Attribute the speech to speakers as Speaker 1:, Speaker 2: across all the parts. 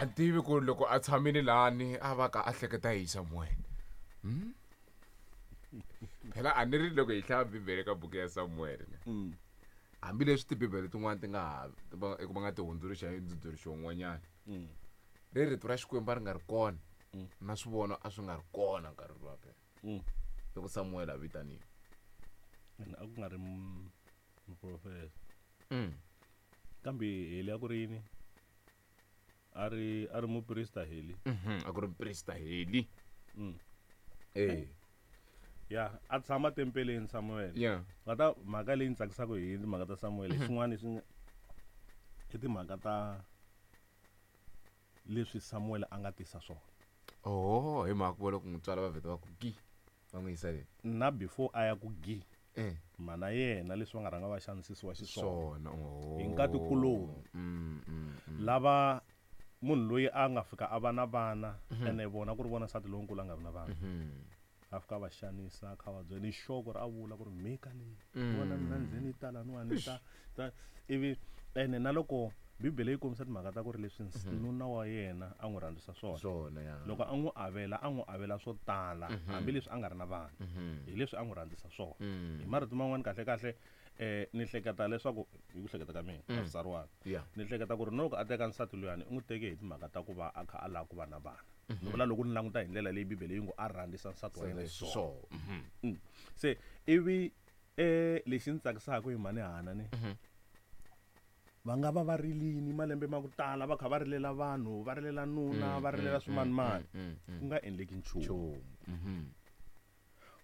Speaker 1: A ni tivi ku loko a tshamile lani a va ka a hleketa hi Samuel. Phela a ni ri loko hi hlaya Bibele ka buku ya Samuel ne. Hambileswi tibibele tin'wana ti nga ha va eku va nga ti hundzuluxa hi ndzundzuluxo wun'wanyana. Ri rito ra Xikwembu a ri nga ri kona na swivono a swi nga ri kona nkarhi luwa phela. Loko Samuel a vitaniwa.
Speaker 2: Ene a ku nga ri muprofeta. Kambe Heli a ku ri yini? A ri a ri muprista Heli.
Speaker 1: A ku ri muprista Heli. Eh.
Speaker 2: Ya, a tshama tempeleni Samuel.
Speaker 1: Yeah.
Speaker 2: Nga ta mhaka leyi ni tsakisaka hi timhaka ta Samuel, xin'wana swi i timhaka ta leswi Samuel a nga tisa swona.
Speaker 1: Oh, hi mhaka ku loko n'wi tswala va vheta va ku gi va n'wi yisa le.
Speaker 2: Na before a ya ku gi.
Speaker 1: Eh.
Speaker 2: Mana yena leswi va nga rhanga va xanisisiwa xiswona.
Speaker 1: Swona. Oh.
Speaker 2: Hi nkatikuloni. Lava munhu loyi a nga fika a va na vana ene vona ku ri vona nsati lonkulu a nga vi na vana. A fika a va xanisa a kha va byela ni xoko ri a vula ku ri mhika leyi. Vona mina ni ze ni ta laniwani ni ta, ta ivi ene na loko Bibele yi kombisa timhaka ta ku ri leswi nuna wa yena a n'wi rhandzisa swona.
Speaker 1: Swona, ya.
Speaker 2: Loko a n'wi avela, a n'wi avela swo tala, hambileswi a nga ri na vana. Hi leswi a n'wi rhandzisa swona. Hi marito man'wani kahle kahle, ni hleketa leswaku, hi ku hleketa ka mina, a swi tsariwanga. Ni hleketa ku ri loko a teka nsati luyani, u n'wi teke hi timhaka ta ku va a kha a lava ku va na vana. Ni vula loko ni languta hi ndlela leyi Bibele yi ngo a rhandzisa nsati wa yena xiswona. Se ivi lexi ni tsakisaka hi mhani Hana ni, va nga va va rilini malembe ma ku tala va kha va rilela vanhu, va rilela nuna, va rilela swimanimani, ku nga endleki nchumu.
Speaker 1: Nchumu.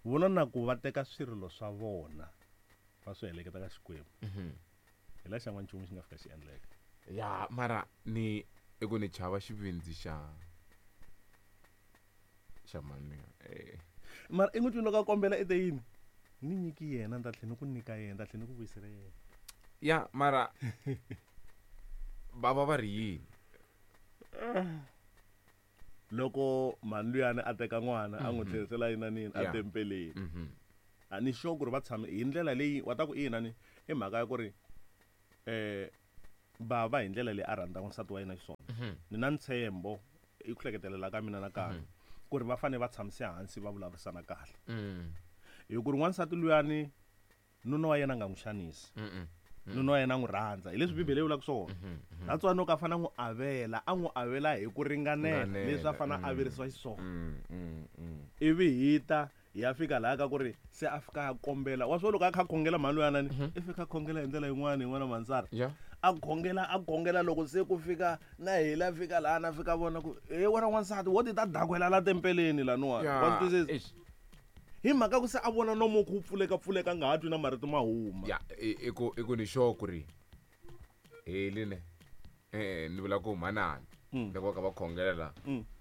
Speaker 2: Vona na ku va teka swirilo swa vona va swi heleketa ka Xikwembu. Hi la xa n'wanchumu xi nga fika xi endleka.
Speaker 1: Ya, mara ni i ku ni chava xivindzi xa xa mhani.
Speaker 2: Mara i n'wi twile loko a kombela i te yini? Ni nyiki yena, ni ta tlhela ni ku nyika yena, ni ta tlhela ni ku vuyisela yena.
Speaker 1: Ya, mara va va va ri yini?
Speaker 2: Loko mhani luyani a teka n'wana a n'wi tlherisela yinanini a tempeleni. A ni sure ku ri va tshame hi ndlela leyi wa ta ku ina ni i mhaka ya ku ri bava hi ndlela leyi a rhandzaka nsati wa yena xiswona. Ni na ntshembo i ku hleketelela ka mina nakambe ku ri va fanele va tshamise hansi va vulavurisana kahle. Hi ku ri n'wansati luyani nuna wa yena a nga n'wi xanisi. Nuna wa yena a n'wi rhandza. Hi leswi Bibele yi vulaka swona. That's why loko a fanele a n'wi avela, a n'wi avela hi ku ringanela leswi a fanele a averisiwa xiswona. Ivi hi ta hi ya fika laha ka ku ri se a fika a kombela. Wa swi vona loko a kha a khongela mhani luyana ni, i fika a khongela hi ndlela yin'wana yin'wana Mansara. A khongela, a khongela loko se ku fika na hina a fika laha na fika vona ku he wena n'wansati wo ti ta dakwela la tempeleni laniwani. Wa swi twisisa? Hi mhaka ku se a vona nomo ku pfuleka pfuleka a nga ha twi na marito ma huma.
Speaker 1: Ya, i ku, i ku ni sure ku ri heli ne. Ni vula ku manana loko va kha va khongela la,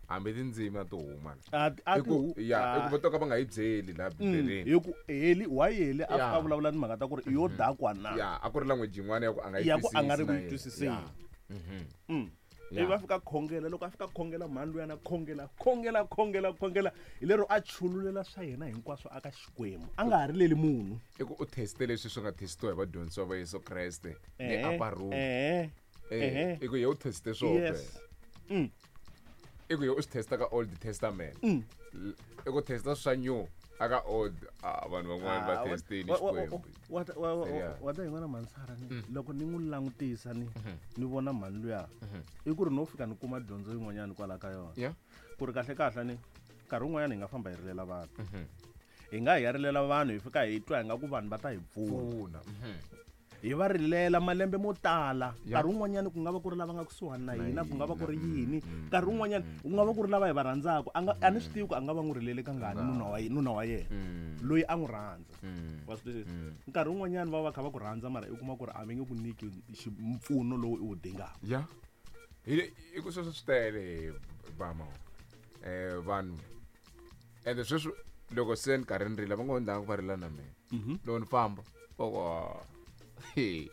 Speaker 1: hambi tindzimi a ti huma la.
Speaker 2: A ti, a
Speaker 1: I
Speaker 2: ti
Speaker 1: ku,
Speaker 2: hu-,
Speaker 1: ya, i ku
Speaker 2: a.
Speaker 1: va to ka va nga yi byeli la Bibeleni.
Speaker 2: Hi ku heli, why heli a fika
Speaker 1: Ya.
Speaker 2: a vulavula ni mhaka ta ku ri yo dakwa na?
Speaker 1: Ya, a ku ri language yin'wana ya ku a nga yi
Speaker 2: Ya ku a nga ri
Speaker 1: twisisi
Speaker 2: ku
Speaker 1: na
Speaker 2: yi
Speaker 1: yena.
Speaker 2: twisiseni.
Speaker 1: Ya. Ya.
Speaker 2: Ivi a fika a khongela, loko a fika a khongela mhani luyani a khongela, khongela, khongela, khongela, hi lero a chululela swa yena hinkwaswo aka Xikwembu, a nga ha rileli munhu.
Speaker 1: I ku u teste leswi swi nga testiwa hi vadyondzisiwa va Yesu Kreste le upper room. I ku ye u teste swona.
Speaker 2: Yes.
Speaker 1: I ku ye u swi testa ka Old Testament. I ku testa swa new aka old. Vanhu van'wana va testini Xikwembu. Serious.
Speaker 2: Wa ta yin'wana Mansara ni, loko ni n'wi langutisa ni, ni vona mhani luya, i ku ri no fika ni kuma dyondzo yin'wanyana kwala ka yona. Ku ri kahle kahle ni, nkarhi wun'wanyana hi nga famba hi rilela vanhu. Hi nga hi ya rilela vanhu hi fika hi twa hi nga ku vanhu va ta hi pfuna.
Speaker 1: Pfuna.
Speaker 2: Hi va rilela malembe mo tala.
Speaker 1: Ya.
Speaker 2: Nkarhi wun'wanyana ku nga va ku ri lava nga kusuhani na
Speaker 1: Na
Speaker 2: hina, ku nga va ku ri
Speaker 1: hina.
Speaker 2: yini. Nkarhi wun'wanyana ku nga va ku ri lava hi va rhandzaka. A nga, a ni swi tivi ku a nga va n'wi rilele kangani nuna wa nuna wa yena. Loyi a n'wi rhandza. Wa swi twisisa? Nkarhi wun'wanyana va va kha va ku rhandza mara i kuma ku ri a va nge ku nyiki mpfuno lowu i wu dingaka.
Speaker 1: Ya. Hi le, i ku sweswo swi tele, Bama. Vanhu. Ende sweswi loko se ni karhi ni rila va ngo ndanga ku va rila na mina. Loko ni famba, va ku, ah, he,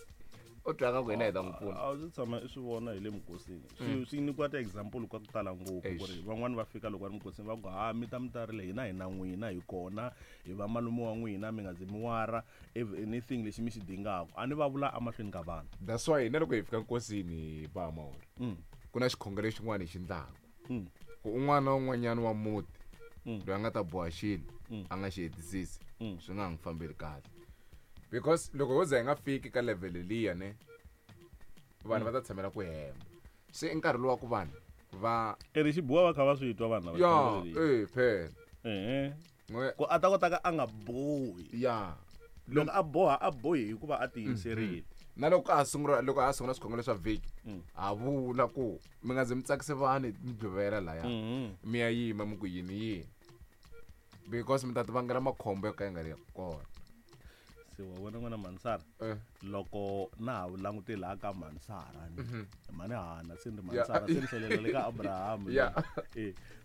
Speaker 1: u twa nga ku hina hi ta n'wi pfuna.
Speaker 2: A wu se tshama i swi vona hi le mukosini. Swi nyikiwa ti-example ka ku tala ngopfu ku ri van'wani va fika loko va ri mukosini va ku, ha, mi ta mi ta rila, hina hi na n'wina, hi kona, hi va malume wa n'wina, mi nga zi mi wara, if anything lexi mi xi dingaka. A ni va vula emahlweni ka vanhu.
Speaker 1: That's why hina loko hi fika nkosini hi ba mahori. Ku na xikhongelo xin'wana hi xi ndlaku. Ku un'wana na un'wanyana wa muti loyi a nga ta boha xilo a nga xi hetisisi swi nga ha n'wi fambeli kahle. Because loko ho za hi nga fiki ka level liya ne vanhu va ta tshamela ku hemba. Se i nkarhi lowu wa ku vanhu va
Speaker 2: eri xibuwa va kha va swi twa vanhu lava
Speaker 1: ya eh phela.
Speaker 2: Ku a ta kota ka a nga bohi.
Speaker 1: Ya.
Speaker 2: Loko a boha a bohi hikuva a tiyimiserile.
Speaker 1: Na loko a sungula loko a sungula swikhongelo swa vhiki ha vula ku mi nga ze mi tsakise vanhu mi dluvela laya mi ya yima mi ku yini yini because mi ta ti vangela makhombo yo ka ya nga ri kona.
Speaker 2: Se wa vona n'wana Mansara loko na ha langute laha ka Mansara ni mhani Hana se ni Mansara se ni tlhelela le ka Abraham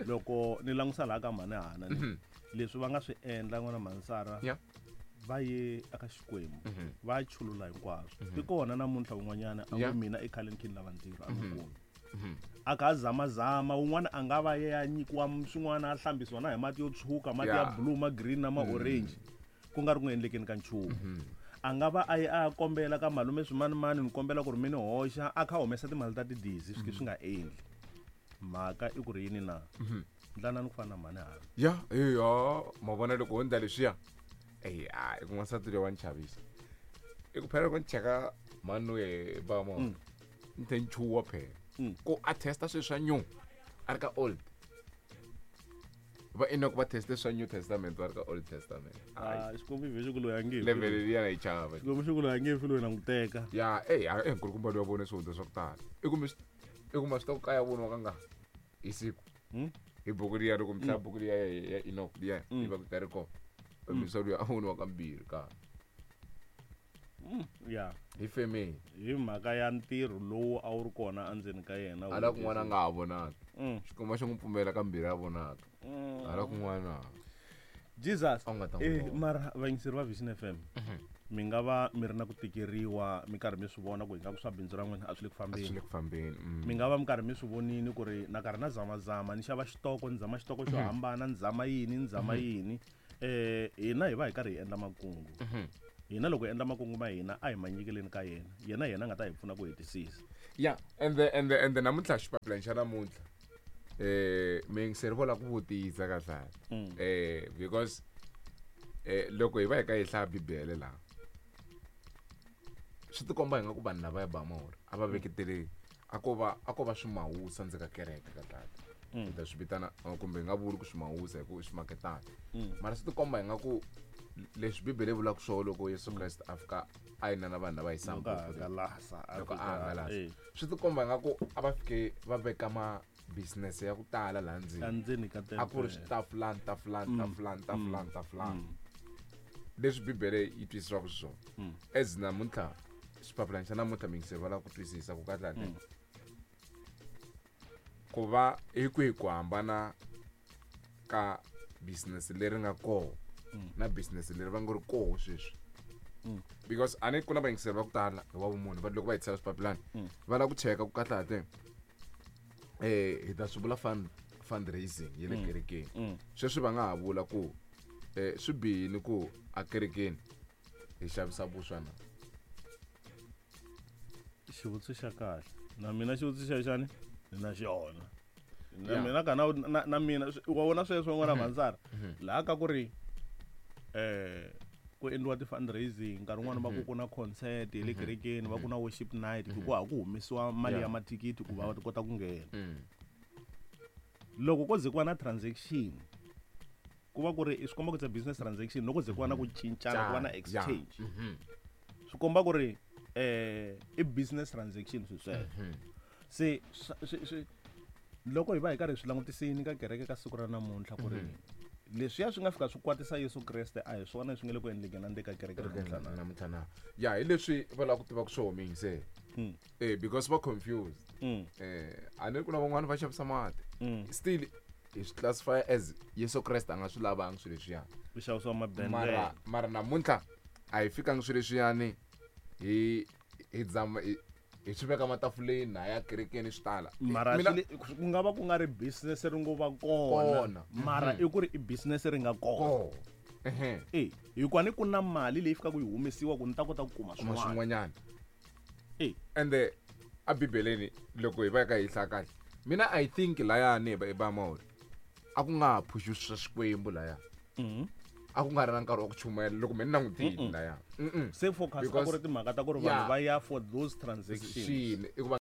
Speaker 2: loko ni langusa laha ka mhani Hana ni leswi va nga swi endla n'wana Mansara va ye aka Xikwembu va chulula hinkwaswo ti kona namuntlha un'wanyana a ku mina ekhaleni khini lava ntirho a n'wi kumi a kha a zamazama un'wana a nga va ye a nyikiwa swin'wana a hlambisiwa na hi mati yo tshuka mati ya blue ma green na ma orange ku nga ri ku endlekeni ka nchumu. A nga va a ye a kombela ka malume swimanimani ni kombela ku ri mi ni hoxa a kha humesa timali ta tidizi swi swi nga endli. Mhaka i ku ri yini na? Ndlanani ku fana na mhani Hana.
Speaker 1: Ya, ya, ma vona loko ho ndla leswiya. Ey, a i ku n'wansati loyi wa ni chavisa. I ku phela loko ni cheka mhani loyi ba mo. Ni tlhe ni chuha phela. Ku a testa swilo swa new a ri ka old. Va Enoch va teste swa New Testament va ri ka Old Testament.
Speaker 2: Xikwembu xi vhe xi ku loyi a nge fi.
Speaker 1: Level liya na yi chava.
Speaker 2: Xikwembu xi ku loyi a nge fi loyi na n'wi teka.
Speaker 1: Ya, ey, a nkulukumba loyi wa vone swihundla swa ku tala. I kumbe i kuma swi ta ku kaya voniwa ka nga hi siku. Hi buku liya loko mi hlaya buku liya ya Enoch liya yi va ku karhi kona. Miswa luya a voniwa kambirhi ka.
Speaker 2: Ya.
Speaker 1: Hi family.
Speaker 2: Hi mhaka ya ntirho lowu a wu ri kona endzeni ka yena.
Speaker 1: Hala kun'wana a nga ha vonaki. Xikwembu xi n'wi pfumela kambirhi a vonaka. Hala kun'wana.
Speaker 2: Jesus.
Speaker 1: A nga ta n'wi vona.
Speaker 2: Mara vayingiseri va Vision FM. Mi nga va mi ri na ku tikeriwa mi karhi mi swi vona ku ingaku swa bindzu ra n'wina a swi le ku fambeni.
Speaker 1: A swi le ku fambeni.
Speaker 2: Mi nga va mi karhi mi swi vonini ku ri na karhi na zamazama ni xava xitoko ni zama xitoko xo hambana ni zama yini ni zama yini. Hina hi va hi karhi hi endla makungu. Hina loko hi endla makungu ma hina a hi ma nyikeleni ka yena. Yena hi yena a nga ta hi pfuna ku hetisisa.
Speaker 1: Yeah, and the namuntlha xipapilani xa namuntlha. Miyingiseri vo lava ku vutisa kahle. Because loko hi va hi ka hi hlaya Bibele laha swi tikomba hi nga ku vanhu lava ya ba mahori a va veketele a ko va swimawusa ndzi ka kereke ka tata. Hi ta swi vitana kumbe hi nga vuli ku swimawusa hi ku i swimaketana. Mara swi tikomba hi nga ku leswi Bibele yi vulaka swona loko Yesu Kreste a fika a yina na vanhu lava hi
Speaker 2: Loko a
Speaker 1: sambuku.
Speaker 2: hangalasa, a
Speaker 1: Loko a
Speaker 2: fika,
Speaker 1: hangalasa. Swi tikomba nga ku a va fike va veka ma business ya ku tala laha ndzeni.
Speaker 2: Endzeni ka
Speaker 1: A ku ri
Speaker 2: tempele.
Speaker 1: switafulani, tafulani, tafulani, tafulani, tafulani. Leswi Bibele yi twisisiwaka xiswona. As namuntlha xipapilani xa namuntlha miyingiseri va lava ku twisisa ku kahle kahle. Ku va hi kwihi ku hambana ka business leri nga koho na business leri va nga ri koho sweswi. Because a ni ku na vayingiseri va ku tala hi wa vumunhu va loko va hetisela swipapilani va lava ku cheka ku kahle kahle hi ta swi vula fundraising ya le kerekeni. Sweswi va nga ha vula ku swi bihile ku a kerekeni hi xavisa vuswa na?
Speaker 2: Xivutiso xa kahle. Na mina xivutiso xa xani? Ni na xona. Na mina ka na mina, wa vona sweswo n'wana Mhandzara? Laha ka ku ri ku endliwa ti-fundraising, nkarhi wun'wani va ku ku na concert ya le kerekeni, va ku na worship night, ku ha ku humesiwa mali ya mathikithi ku va va kota ku nghena. Loko ko ze ku va na transaction, ku va ku ri swi komba ku it's a business transaction, loko ze ku va na ku cincana, ku va na exchange. Swi komba ku ri i business transaction swi sweswo. Se swi loko hi va hi karhi hi swi langutisini ka kereke ka siku ra namuntlha ku ri leswiya swi nga fika swi kwatisa Yesu Kreste a hi swona leswi nga le ku endlekeni endzeni ka kereke namuntlha na.
Speaker 1: Namuntlha na. Ya, hi leswi va lava ku tiva ku swo humile se. Because va confused. A ni ri ku na van'wani va xavisa mati. Still hi swi classify as Yesu Kreste a nga swi lavangi swilo leswiya.
Speaker 2: Ku xavisiwa mabendlele.
Speaker 1: Mara namuntlha a hi fikangi swilo leswiyani hi zama hi swi veka matafuleni na ya kerekeni swi tala.
Speaker 2: Mara
Speaker 1: Mina
Speaker 2: swi le, ku nga va ku nga ri business ri ngo va kona.
Speaker 1: Kona.
Speaker 2: Mara i ku ri i business ri nga kona.
Speaker 1: Kona.
Speaker 2: Hikuva ni ku na mali leyi fikaka yi humesiwa ku ni ta kota ku kuma
Speaker 1: Kuma
Speaker 2: swin'wana.
Speaker 1: swin'wanyana.
Speaker 2: E.
Speaker 1: Ende A Bibeleni loko hi va ka hi hlaya kahle, mina I think layani hi ba Mauri a ku nga ha phuxi swa Xikwembu laya. A ku nga ri na nkarhi wa ku chumayela loko me ni langutile laya.
Speaker 2: Se focus a ku ri timhaka ta ku ri vanhu va ya for those transactions.
Speaker 1: Swini i ku va.